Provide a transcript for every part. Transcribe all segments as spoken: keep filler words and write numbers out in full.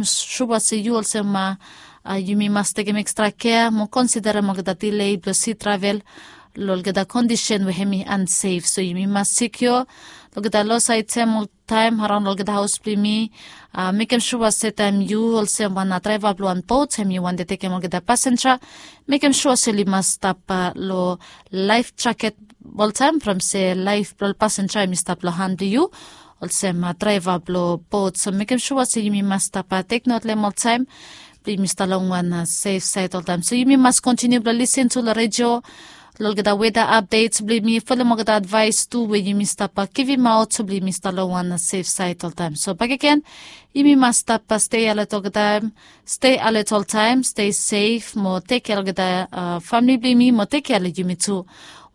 Sua se yu olsem yumi mas tekem ekstra kea mo konsiderem olgeta dile blong si travel long olgeta kondisen we hem i ansef. So yumi mas sikio long olgeta los aetem oltaem araon long olgeta haos blong yumi. Mekem sua se taem yu olsem wan draeva blong wan bot hem i wante tekem olgeta pasenja, mekem sua se oli mas stap long laef jaket oltaem from se laef blong ol pasenja hem i stap long han blong yu olsem draeva blong bot. So mekem sua se yumi mas stap teknot long hem oltaem blong yumi stap long wan sef saed oltaem. So yumi mas kontiniu blong lisin tu long redio long olgeta weda apdets blong yumi folem olgeta advaes tu we yumi stap givimaot blong yumi stap long wan sef saed oltaem. So bakegen yumi mas stap stei alet olgetaem, stei alet oltaem, stei sef mo tekem kea olgeta famili blong yumi mo tekem kea long yumi tu.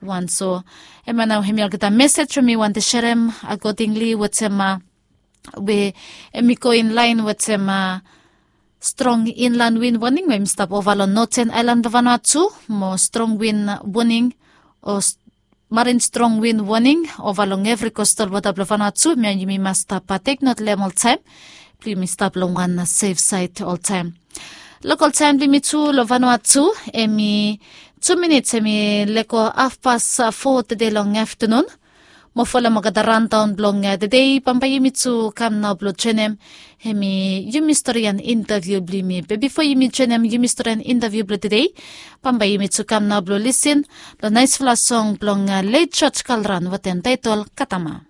Wan so hemia nao hemi olgeta mesej we mi wante serem akodingli wetem we hem i go inlaen wetem strong inlan win woning we hem i stap ova long noten aelan blong Vanuatu mo strong win woning o marin strong win woning ova long evri kostal wota blong Vanuatu. Hemia yumi mas stap teknot long hem oltaem blong yumi stap long wan sef saed oltaem. Lokol taem blong yumi tu long Vanuatu hem i tu minits hem i lego hafpas fo tede long aftanun. Mo folem olgeta randaon blong tede bambae yumi tu kam nao blong joenem hemi yumi storian intaviu blong yumi. Be bifo yumi joenem yumi storian intaviu blong tede, bambae yumi tu kam nao blong lisin long naesfala song blong let George Kalran wetem taetol Katama.